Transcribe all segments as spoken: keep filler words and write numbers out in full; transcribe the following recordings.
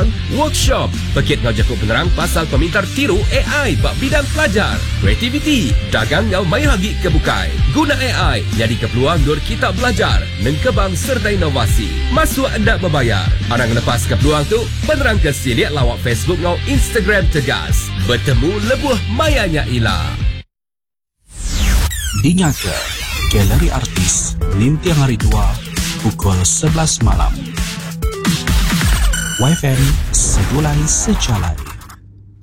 pemerindang, workshop, pekit ngau jaku penerang pasal pemintar tiru A I ba bidang pelajar, kreativiti, dagang ngau mayuh agi ke bukai. Guna A I nyadi ke peluang dur kita belajar, nengkebang serta inovasi. Masuk enda berbayar. Arang lepas ke peluang tu, penerang ke silik lawak Facebook ngau Instagram Tegas. Bertemu lebuh mayanya ila. Dinga ke Galeri Artis Nintiang hari dua pukul sebelas malam. Y F M Segulai Sejalai.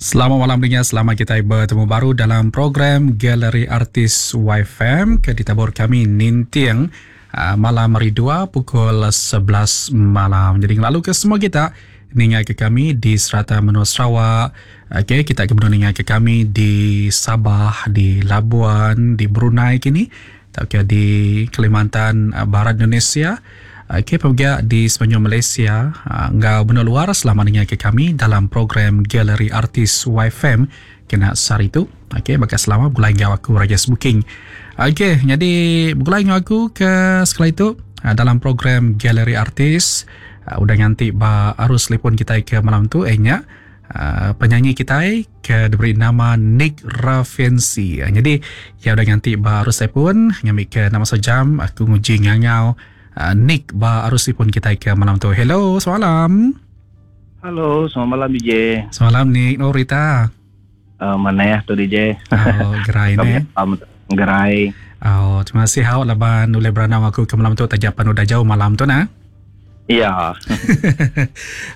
Selamat malam dengar, selamat kita bertemu baru dalam program Galeri Artis Y F M ke ditabur kami Nintiang uh, malam hari dua pukul sebelas malam. Jadi lalu ke semua kita ningai ke kami di serata menua Sarawak. Okey, kita kemudian ningai ke kami di Sabah, di Labuan, di Brunei kini, tak di Kalimantan Barat Indonesia. Okey, pergi di Semenanjung Malaysia, ngau benua luar selama ningai ke kami dalam program Galeri Artis Y F M kena sehari tu. Okey, bakal selama begulai ngau aku Raja Booking. Okey, jadi begulai ngau aku ke sekali itu dalam program Galeri Artis. Uh, udah nganti ba arus telefon kita ke malam tu eh nya uh, penyanyi kita ke diberi nama Nick Rafensi. Uh, jadi ya udah nganti ba arus telefon ngambil ke nama sejam aku nguji ngangau uh, Nick ba arus telefon kita ke malam tu. Hello, selamat malam. Halo, selamat malam D J. Selamat malam Nick. Oh Rita. Uh, mana ya tu D J? Oh, gerai ni. Gerai. Oh, terima kasih hau laban ulih beranau aku ke malam tu tajapan udah jauh malam tu nah. Ya.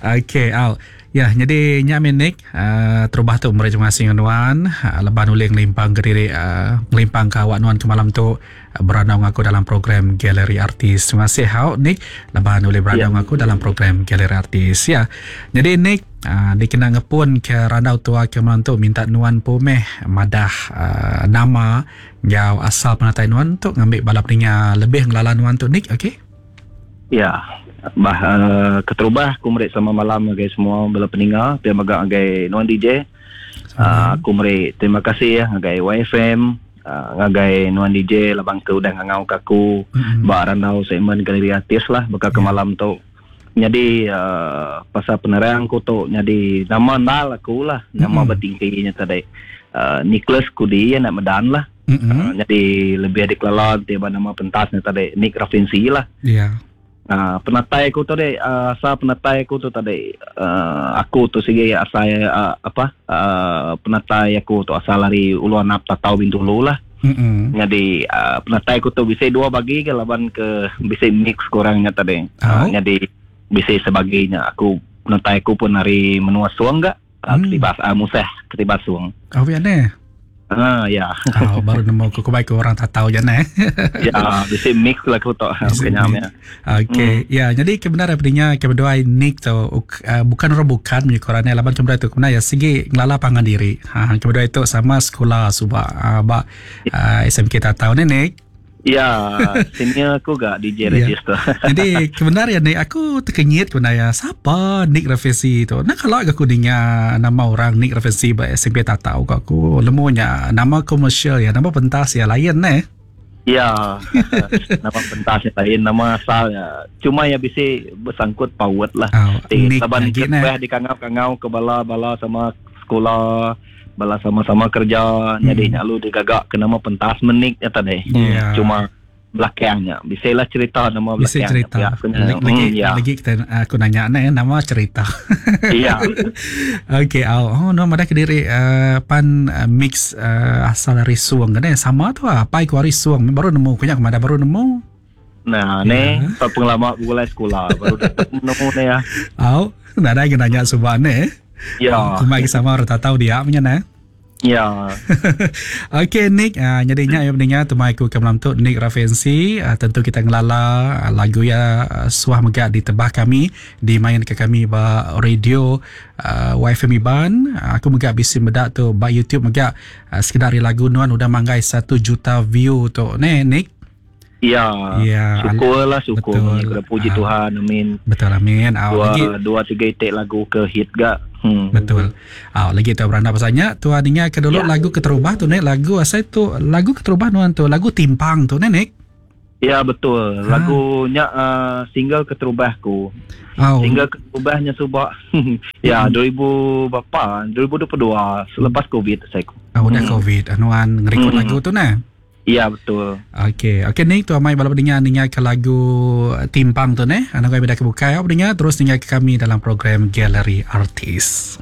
Okey, au. Ya, jadi nyak Nick, uh, terubah tu meri terima kasih nuan, uh, leban ulih ngelimpang ke diri, uh, ngelimpang ke awak nuan ke malam tu uh, beranau aku dalam program Galeri Artis. Terima kasih hau Nick, leban ulih beranau ya. Aku dalam program Galeri Artis ya. Jadi Nick, uh, dikena ngepun ke randau tua ke malam tu minta nuan pumeh madah uh, nama ngau asal penatai nuan tu ngambil balap peninga lebih ngelala nuan tu Nick, okey? Ya. Bah uh, keterubah aku meri selamat malam ngagai semua bala peninga pia mega ngagai nuan D J. Uh, aku meri terima kasih ya ngagai Y F M, uh, ngagai nuan D J labang ke udah ngangau ke aku mm-hmm. ba randau segmen Galeri Artis lah baka ke malam tu. Jadi uh, pasal penerang aku tu jadi nama nal aku lah nama mm-hmm. bertingginya tadi uh, Nicholas Kudi anak Medan lah. Mm-hmm. Uh, jadi lebih dikelala tiba nama pentasnya tadi Nick Rafensi lah. Ya. Yeah. Uh, penatai aku tadi uh, asal penatai aku tu tadi uh, aku tu sigi asal uh, apa uh, penatai aku tu asal dari Ulu Anap Tatau Bintulu lah. Mm-hmm. Jadi uh, penatai aku tu bisa dua bagi ke laban ke bisa mix kurangnya tadi. Oh. Uh, jadi bisa sebagainya aku penatai aku pun dari menua Suang gak uh, mm. Ketibas uh, Musah Ketibas Suang. Oh ya neh. Ah ya. Oh, baru nemu aku baik orang tak tahu je neh. Ya, bisa mix lah aku tak kenyam ya. Okey, hmm. Ya, jadi kebenaran pendinya kedua Nick tu uh, bukan orang bukan menyukurannya laban kebenaran itu kebenaran ya segi ngelala pangan diri. Ha kebenaran itu sama sekolah subak uh, ba uh, S M K tak tahu ni Nick. Ya, senior aku gak D J register. Ya. Jadi kebenaran Nick aku terkenyit kebenaran siapa Nick Rafensi tu. Nah kalau aku dengar nama orang Nick Rafensi ba S M P tak tahu aku lemunya nama komersial ya, nama pentas ya lain neh. Ya, nama pentas ya lain, nama asal ya. Cuma ya bisa bersangkut paut lah. Oh, Nick saban ke di kangau-kangau ke bala-bala sama sekolah bala sama-sama kerja hmm. Jadi nyalu digagak ke nama pentas menik ya tadi. Yeah. Cuma belakangnya bisalah cerita nama belakangnya. Bisa cerita. Ya, lagi, lagi, hmm, ya. Lagi kita aku nanya nak nama cerita. Iya. Okey, oh, oh nama dah kediri uh, pan uh, mix uh, asal dari Suang kan sama tu ah pai ku hari Suang baru nemu kunyak mana baru nemu. Nah, yeah. Ni tak pengalaman gulai sekolah baru nemu ni ya. Oh, nak ada nanya subak ni. Ya. Aku mai sama orang tak tahu dia punya nah. Ya. Okey Nick, uh, jadinya yang pentingnya temai aku ke malam tu Nick Rafensi, uh, tentu kita ngelala uh, lagu ya uh, suah megak di tebah kami, dimain ke kami ba radio uh, Y F M Iban. Uh, aku megak bisi medak tu ba YouTube megak uh, sekedar lagu nuan udah manggai satu juta view tu. Ne Nick. Ya, ya, syukurlah syukur. Betul. Puji uh, Tuhan, amin. Betul amin. Uh, dua, lagi, dua tiga itik lagu ke hit gak. Hmm. Betul. Ah, lagi tu beranda pasalnya tuan ingat ke dulu ya. Lagu keterubah tu nek lagu asal tu lagu keterubah nuan tu lagu timpang tu nek. Ya betul. Ha. Lagunya uh, single keterubah aku. Oh. Single keterubahnya subak. Ya, Hmm. dua ribu berapa? dua ribu dua puluh dua selepas Covid saya. Ah, udah Hmm. Covid. Anuan ngerekod Hmm. lagu tu nah. Ya betul. Okey, okey ni tu amai bala pendengar ninga ke lagu Timpang tu neh. Anak kami dah kebukai, pendengar terus ninga ke kami dalam program Galeri Artis.